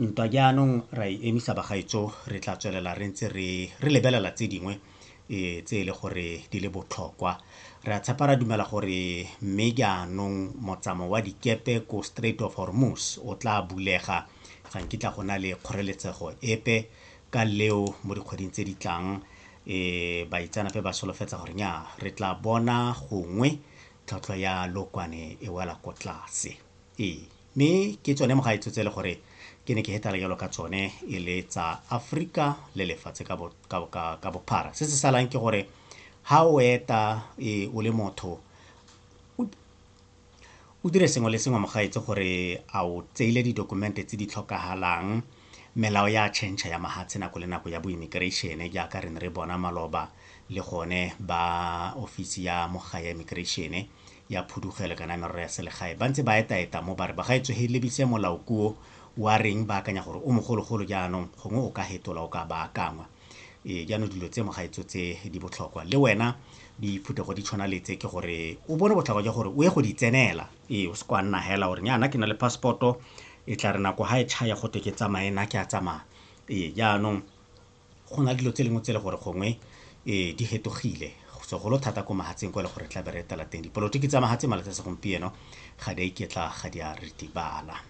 Ntwa jaanong ra e emisa bagaetsho, re tla tswelela re ntse re re lebelela tse dingwe tse e le gore di le botlhokwa. Re a tshepa ra dumela gore mme jaanong motsamao wa dikepe ko Strait of Hormuz o tla bulega, ga nkitla go na le kgoreletsego epe ka leo mo dikgweding tse di tlang. Baitseanape ba solofetsa gore nya re tla bona gongwe tlhwatlhwa ya lookwane e wela ko tlase. Ee, mme ke tsone mogaetsho tse e le gore ke ne ke hetala jalo ka tsone e le tsa Aforika le lefatshe ka bophara. Se se salang ke gore ha o eta o le motho o dire sengwe le sengwe mogaetsho gore a o tseile didokumente tse di tlhokagalang. Melao ya change ya mahatshe nako le nako ya bo immigration jaaka re ne re bona maloba le gone ba ofisi ya mogae ya immigration ya phudugelo kana merero ya selegae ba ntse ba eta-eta mo ba re bagaetsho he lebise molao kuo wa reng ba akanya gore o mogologolo jaanong gongwe o ka hetola o ka baakangwa. Ee, jaanong dilo tse mogaetsho tse di botlhokwa le wena diphuthego di tshwana le tse ke gore o bone botlhokwa jwa gore o ye go di tsenela. Ee, o se kwa nna hela gore nyana ke na le passport-o e tla re nako ha e tšhaya gote ke tsamaye nna ke a tsamaya. Ee, jaanong go na le dilo tse dingwe tse e le gore gongwe di hetogile segolo thata ko mahatsheng kwa e le gore tla be re etela teng. Dipolotiki tsa mahatshe malatsi a segompieno ga di a iketla ga di a ritibala.